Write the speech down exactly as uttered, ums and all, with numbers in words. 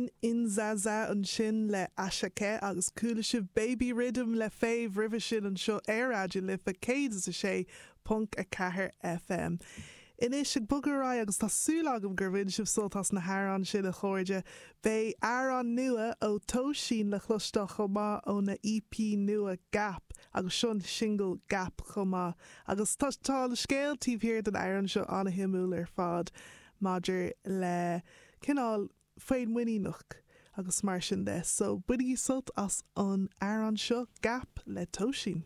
Sin Inzaza ansin le Asake agus chuala sibh Baby Rhythm le Fave roimhe sin anseo ar Raidió na Life céad is a sé ponc a ceathair FM. Anois ag bogadh ar aghaidh agus tá súil agam gur bhain sibh sult as na hamhráin sin a chairde, Beidh amhrán nua ó Tóisín le cloisteáil chomh maith óna EP nua Gap agus sin single Gap chomh maith. Agus tá tá le scéal taobh thiar den amhrán seo an-shuimiúil ar fad maidir le cineál féinmhuiníneach agus mar sin de, so bainigí sult as an amhrán seo Gap le Tóisín.